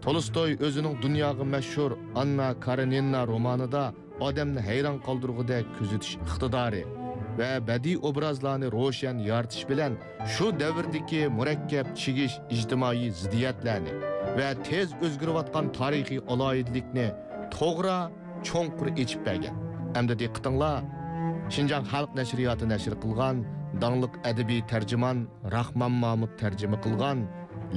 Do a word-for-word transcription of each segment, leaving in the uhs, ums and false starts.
تولستوي ئۆزىنىڭ دۇنياغا مەشھۇر ئاننا كارېنىنا رومانىدا ئادەمنى ھەيران قالدۇرغۇدەك كۆزىتىش ئىقتىدارى ۋە بەدىئىي ئوبرازلارنى روشەن يارىتىش بىلەن شۇ دەۋردىكى مۇرەككەپ چىگىش ئىجتىمائىي زىددىيەتلەرنى ۋە تېز ئۆزگىرىۋاتقان تارىخىي ئالاھىدىلىكنى توغرا، چوڭقۇر ئېچىپ بەرگەن. ئەمدى دىققىتىڭلار شىنجاڭ خەلق نەشرىياتى نەشر قىلغان داڭلىق ئەدەبىي تەرجىمان راخمان مامۇت تەرجىمە قىلغان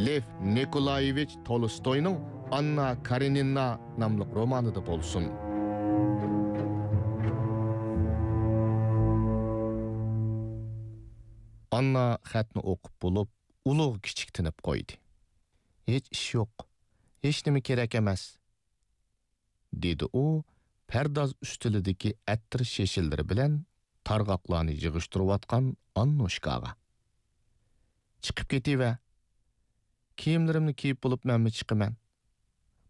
لېف نىكولايېۋىچ تولستوينىڭ ئاننا كارېنىنا ناملىق رومانىدا بولسۇن. ئاننا خەتنى ئوقۇپ بولۇپ، ئۇلۇغ كىچىك تىنىپ قويدى. «ھېچ ئىش يوق، ھېچنېمە كېرەك ئەمەس.» دېدى ئۇ پەرداز ئۈستىلىدىكى ئەتىر شېشىلىرى بىلەن تارغاقلارنى يىغىشتۇرۇۋاتقان ئاننوشكاغا. «چىقىپ كېتىۋەر. كىيىملىرىمنى كىيىپ بولۇپ مەنمۇ چىقىمەن.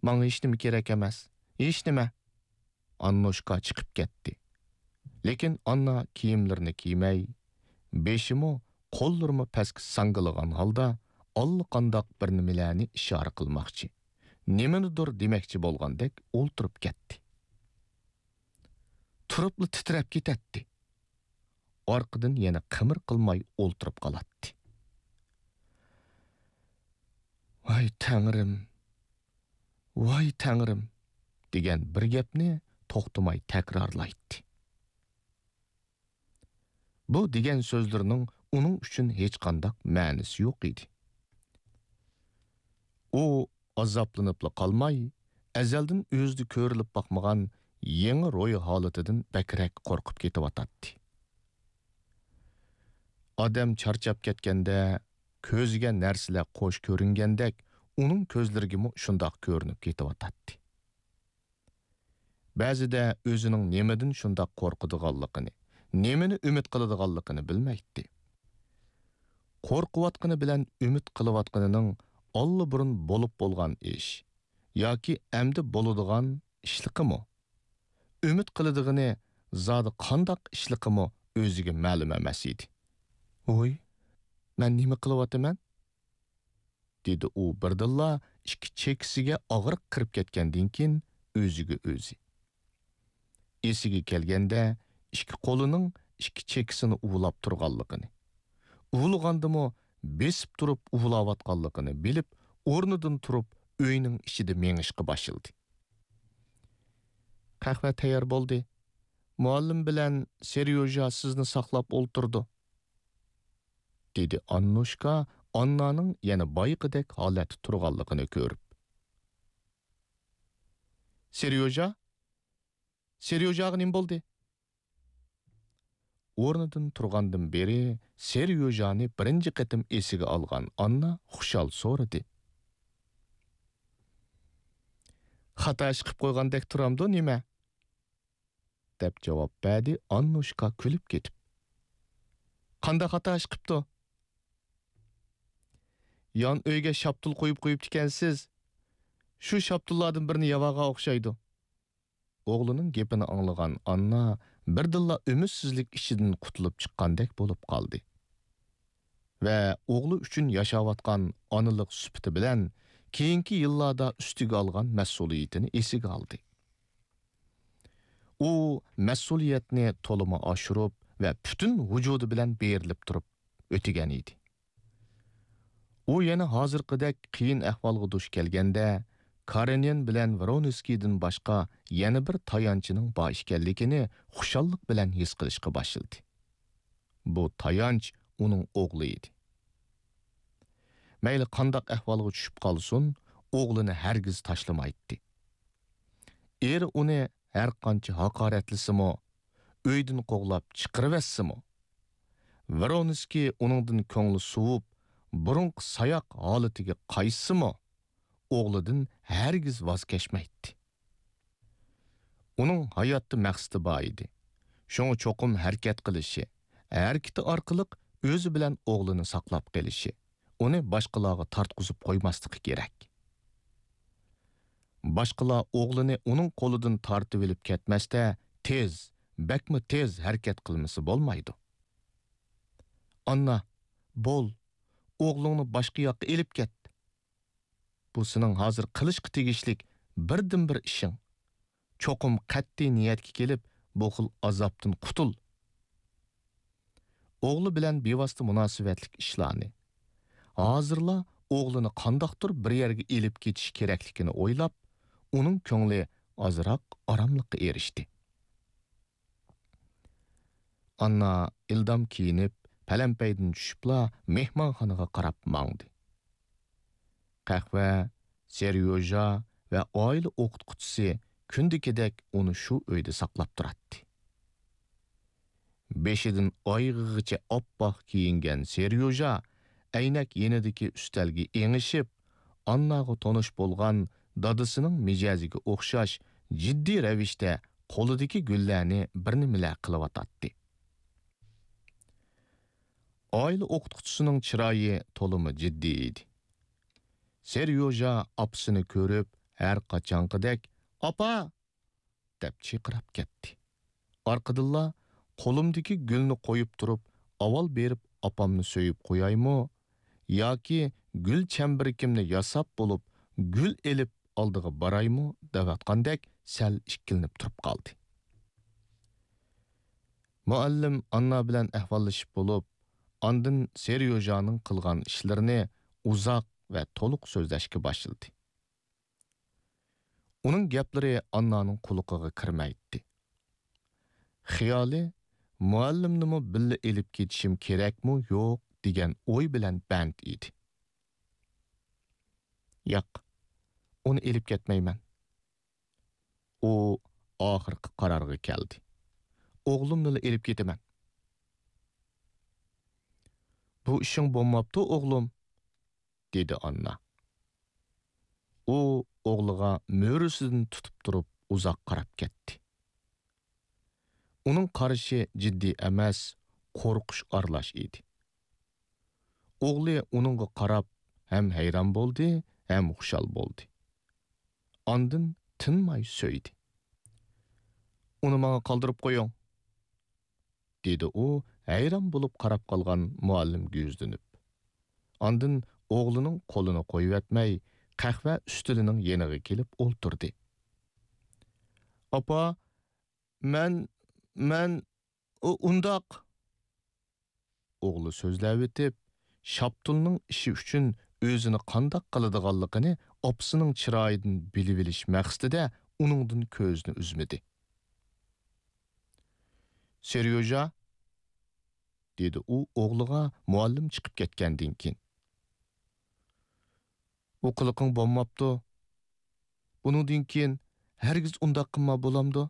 ماڭا ھېچنېمە كېرەك ئەمەس. ھېچنېمە.» ئاننوشكا چىقىپ كەتتى. لېكىن ئاننا كىيىملىرىنى كىيمەي، بېشىمۇ، قوللىرىمۇ پەسكە ساڭگىلىغان ھالدا ئاللىقانداق بىر نېمىلەرنى ئىشارە قىلماقچى، نېمىنىدۇر دېمەكچى بولغاندەك ئولتۇرۇپ كەتتى. تۇرۇپلا تىترەپ كېتەتتى. ئارقىدىن يەنە قىمىر قىلماي ئولتۇرۇپ قالاتتى. «ۋاي تەڭرىم! ۋاي تەڭرىم!» دېگەن بىر گەپنى توختىماي تەكرارلايتتى. بۇ دېگەن سۆزلىرىنىڭ ئۇنىڭ ئۈچۈن ھېچقانداق مەنىسى يوق ئىدى. ئۇ ئازابلىنىپلا قالماي، ئەزەلدىن ئۆزىدە كۆرۈلۈپ باقمىغان يېڭى روھىي ھالىتىدىن بەكرەك قورقۇپ كېتىۋاتاتتى. ئادەم چارچاپ كەتكەندە، كۆزىگە نەرسىلەر قوش كۆرۈنگەندەك، ئۇنىڭ كۆزلىرىگىمۇ شۇنداق كۆرۈنۈپ كېتىۋاتاتتى. بەزىدە ئۆزىنىڭ نېمىدىن شۇنداق قورقىدىغانلىقىنى، نېمىنى ئۈمىد قىلىدىغانلىقىنى بىلمەيتتى. قورقۇۋاتقىنى بىلەن ئۈمىد قىلىۋاتقىنىنىڭ ئاللىبۇرۇن بولۇپ بولغان ئىش ياكى ئەمدى بولىدىغان ئىشلىقىمۇ، ئۈمىد قىلىدىغىنى زادى قانداق ئىشلىقىمۇ ئۆزىگە مەلۇم ئەمەس ئىدى. «ۋوي، مەن نېمە قىلىۋاتىمەن؟» دېدى ئۇ بىردىنلا ئىككى چېكىسىگە ئاغرىق كىرىپ كەتكەندىن كېيىن ئۆزىگە ئۆزى. ئېسىگە كەلگەندە ئىككى قولىنىڭ ئىككى چېكىسىنى ئۇۋىلاپ تۇرغانلىقىنى، ئۇۋىلىغاندىمۇ بېسىپ تۇرۇپ ئۇۋىلاۋاتقانلىقىنى بىلىپ، ئورنىدىن تۇرۇپ ئۆينىڭ ئىچىدە مېڭىشقا باشلىدى. «قەھۋە تەييار بولدى. مۇئەللىم بىلەن سېريوژا سىزنى ساقلاپ ئولتۇرىدۇ.» دېدى ئاننۇشكا ئاننانىڭ يەنە بايىقىدەك ھالەتتە تۇرغانلىقىنى كۆرۈپ. «سېريوژا؟ سېريوژاغا نېمە بولدى؟» ئورنىدىن تۇرغاندىن بېرى سېريوژانى بىرىنچى قېتىم ئېسىگە ئالغان ئاننا خۇشال سورىدى. «خاتا ئىش قىپ قويغاندەك تۇرامدۇ نېمە؟» دەپ جاۋاب بەردى ئاننۇشكا كۈلۈپ كېتىپ. «قانداق خاتا ئىش قىپتۇ؟» «يان ئۆيگە شاپتۇل قويۇپ قويۇپتىكەنسىز. شۇ شاپتۇللاردىن بىرنى يەۋالغان ئوخشايدۇ.» ئوغلىنىڭ گېپىنى ئاڭلىغان ئاننا بىردىنلا ئۈمىدسىزلىك ئىچىدىن قۇتۇلۇپ چىققاندەك بولۇپ قالدى. ۋە ئوغلى ئۈچۈن ياشاۋاتقان ئانىلىق سۈپىتى بىلەن كېيىنكى يىللاردا ئۈستىگە ئالغان مەسئۇلىيىتىنى ئېسىگە ئالدى. ئۇ مەسئۇلىيەتنى تولىمۇ ئاشۇرۇپ ۋە پۈتۈن ۋۇجۇدى بىلەن بېرىلىپ تۇرۇپ ئۆتىگەن ئىدى. ئۇ يەنە ھازىرقىدەك قىيىن ئەھۋالغا دۇچ كەلگەندە، كارېنىن بىلەن ۋرونسكىيدىن باشقا يەنە بىر تايانچىنىڭ بار ئىكەنلىكىنى خۇشاللىق بىلەن ھېس قىلىشقا باشلىدى. بۇ تايانچ ئۇنىڭ ئوغلى ئىدى. مەيلى قانداق ئەھۋالغا چۈشۈپ قالسۇن، ئوغلىنى ھەرگىز تاشلىمايتتى. ئېرى ئۇنى ھەرقانچە ھاقارەتلىسىمۇ، ئۆيدىن قوغلاپ چىقىرىۋەتسىمۇ، ۋرونسكىي ئۇنىڭدىن كۆڭلى سوۋۇپ، بۇرۇنقى ساياق ھالىتىگە قايتسىمۇ، ئوغلىدىن ھەرگىز ۋاز كەچمەيتتى. ئۇنىڭ ھاياتتا مەقسىتى بار ئىدى. شۇڭا چوقۇم ھەرىكەت قىلىشى، ھەرىكىتى ئارقىلىق ئۆزى بىلەن ئوغلىنى ساقلاپ قېلىشى، ئۇنى باشقىلارغا تارتقۇزۇپ قويماسلىقى كېرەك. باشقىلار ئوغلىنى ئۇنىڭ قولىدىن تارتىۋېلىپ كەتمەستە، تېز، بەكمۇ تېز ھەرىكەت قىلمىسا بولمايدۇ. ئاننا، بول، ئوغلۇڭنى باشقا ياققا ئېلىپ كەت. بۇ سېنىڭ ھازىر قىلىشقا تېگىشلىك بىردىنبىر ئىشىڭ. چوقۇم قەتئىي نىيەتكە كېلىپ، بۇ خىل ئازابتىن قۇتۇل. ئوغلى بىلەن بىۋاسىتە مۇناسىۋەتلىك ئىشلارنى، ھازىرلا ئوغلىنى قانداقتۇر بىر يەرگە ئېلىپ كېتىش كېرەكلىكىنى ئويلاپ، ئۇنىڭ كۆڭلى ئازراق ئاراملىققا ئېرىشتى. ئاننا ئىلدام كىيىنىپ، پەلەمپەيدىن چۈشۈپلا مېھمانخانىغا قاراپ ماڭدى. قەھۋە، سېريوژا ۋە ئائىلە ئوقۇتقۇچىسى كۈندىكىدەك ئۇنى شۇ ئۆيدە ساقلاپ تۇراتتى. بېشىدىن ئايىغىغىچە ئاپئاق كىيىنگەن سېريوژا ئەينەك يېنىدىكى ئۈستەلگە ئېڭىشىپ، ئانناغا تونۇش بولغان دادىسىنىڭ مىجەزىگە ئوخشاش جىددىي رەۋىشتە قولىدىكى گۈللەرنى بىر نېمىلەر قىلىۋاتاتتى. ئائىلە ئوقۇتقۇچىسىنىڭ چىرايى تولىمۇ جىددىي ئىدى. سېريوژا ئاپىسىنى كۆرۈپ، ھەر قاچانقىدەك، «ئاپا!» دەپ چىرقىراپ كەتتى. ئارقىدىنلا قولۇمدىكى گۈلنى قويۇپ تۇرۇپ، ئاۋۋال بېرىپ ئاپامنى سۆيۈپ قويايمۇ ياكى گۈل چەمبىرىكىمنى ياساپ بولۇپ، گۈل ئېلىپ ئالدىغا بارايمۇ دەۋاتقاندەك سەل ئىككىلىنىپ تۇرۇپ قالدى. مۇئەللىم ئاننا بىلەن ئەھۋاللىشىپ بولۇپ، ئاندىن سېريوژانىڭ قىلغان ئىشلىرىنى ئۇزاق ۋە تولۇق سۆزلەشكە باشلىدى. ئۇنىڭ گەپلىرى ئاننانىڭ قۇلىقىغا كىرمەيتتى. خىيالى، مۇئەللىمنىمۇ بىللە ئېلىپ كېتىشىم كېرەكمۇ يوق دېگەن ئوي بىلەن بەند ئىدى. ياق، ئۇنى ئېلىپ كەتمەيمەن. ئۇ ئاخىرقى قارارغا كەلدى. ئوغلۇمنىلا ئېلىپ كېتىمەن. بۇ ئىشىڭ بولماپتۇ، ئوغلۇم، دېدى ئاننا. ئۇ ئوغلىغا مۈرىسىدىن تۇتۇپ تۇرۇپ ئۇزاق قاراپ كەتتى. ئۇنىڭ قارىشى جىددىي ئەمەس، قورقۇش ئارىلاش ئىدى. ئوغلى ئۇنىڭغا قاراپ ھەم ھەيران بولدى، ھەم خۇشال بولدى. ئاندىن تىنماي سۆيدى. ئۇنى ماڭا قالدۇرۇپ قويۇڭ، دېدى ئۇ ھەيران بولۇپ قاراپ قالغان مۇئەللىمگە يۈزلىنىپ. ئاندىن ئوغلىنىڭ قولىنى قويۇۋەتمەي، قەھۋە ئۈستىلىنىڭ يېنىغا كېلىپ ئولتۇردى. ئاپا، مەن، مەن، ئۇ، ئۇنداق. ئوغلى سۆزلەۋېتىپ، شاپتۇلنىڭ ئىشى ئۈچۈن ئۆزىنى قانداق قىلىدىغانلىقىنى ئاپىسىنىڭ چىرايىدىن بىلىۋېلىش مەقسىتىدە ئۇنىڭدىن كۆزىنى ئۈزمىدى. سېريوژا، دېدى ئۇ ئوغلىغا مۇئەللىم چىقىپ كەتكەندىن كېيىن. بۇ قىلىقىڭ بولماپتۇ. بۇنىڭدىن كېيىن ھەرگىز ئۇنداق قىلما، بولامدۇ؟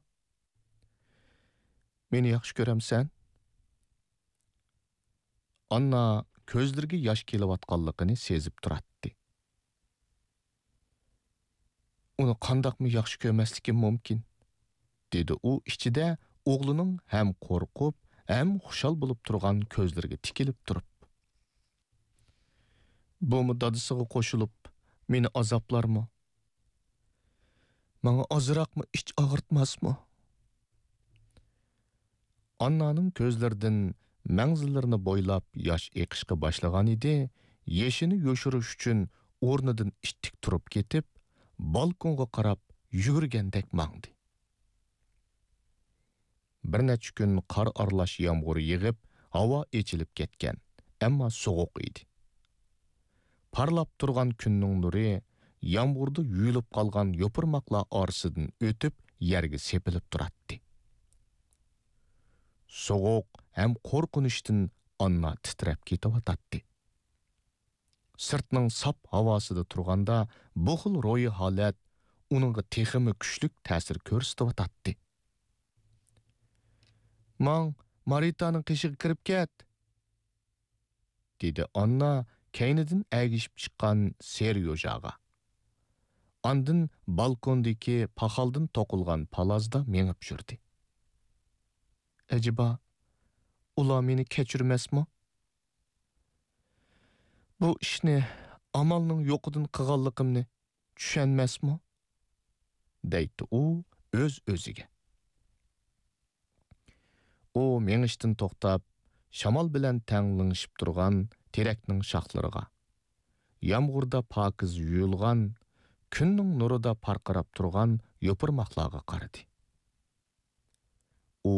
مېنى ياخشى كۆرەمسەن؟ ئاننا كۆزلىرىگە ياش كېلىۋاتقانلىقىنى سېزىپ تۇراتتى. ئۇنى قانداقمۇ ياخشى كۆرمەسلىكىم مۇمكىن؟ دېدى ئۇ ئىچىدە ئوغلىنىڭ ھەم قورقۇپ، ھەم خۇشال بولۇپ تۇرغان كۆزلىرىگە تىكىلىپ تۇرۇپ. بۇمۇ دادىسىغا قوشۇلۇپ، مېنى ئازابلارمۇ؟ ماڭا ئازراقمۇ ئىچ ئاغرىتماسمۇ؟ ئاننانىڭ كۆزلىرىدىن مەڭزىلىرىنى بويلاپ ياش ئېقىشقا باشلىغان ئىدى، يېشىنى يوشۇرۇش ئۈچۈن ئورنىدىن ئىتتىك تۇرۇپ كېتىپ، بالكونغا قاراپ يۈگۈرگەندەك ماڭدى. بىر نەچچە كۈن قار ئارىلاش يامغۇر يېغىپ، ھاۋا ئېچىلىپ كەتكەن، ئەمما سوغۇق ئىدى. پارلاپ تۇرغان كۈننىڭ نۇرى يامغۇردا يۇيۇلۇپ قالغان يوپۇرماقلار ئارىسىدىن ئۆتۈپ، يەرگە سېپىلىپ تۇراتتى. سوغۇق ھەم قورقۇنچتىن ئاننا تىترەپ كېتىۋاتاتتى. سىرتنىڭ ساپ ھاۋاسىدا تۇرغاندا، بۇ خىل روھىي ھالەت ئۇنىڭغا تېخىمۇ كۈچلۈك تەسىر كۆرسىتىۋاتاتتى. ماڭ، مارىتانىڭ قېشىغا كىرىپ كەت! دېدى ئاننا كەينىدىن ئەگىشىپ چىققان سېريوژاغا. ئاندىن بالكوندىكى پاخالدىن توقۇلغان پالازدا مېڭىپ يۈردى. ئەجەبا، ئۇلار مېنى كەچۈرمەسمۇ؟ بۇ ئىشنى ئامالنىڭ يوقىدىن قىلغانلىقىمنى چۈشەنمەسمۇ؟ دەيتتى ئۇ ئۆز-ئۆزىگە. ئۇ مېڭىشتىن توختاپ، شامال بىلەن تەڭ لىڭشىپ تۇرغان تېرەكنىڭ شاخلىرىغا، يامغۇردا پاكىز يۇيۇلغان، كۈننىڭ نۇرىدا پارقىراپ تۇرغان يوپۇرماقلارغا قارىدى.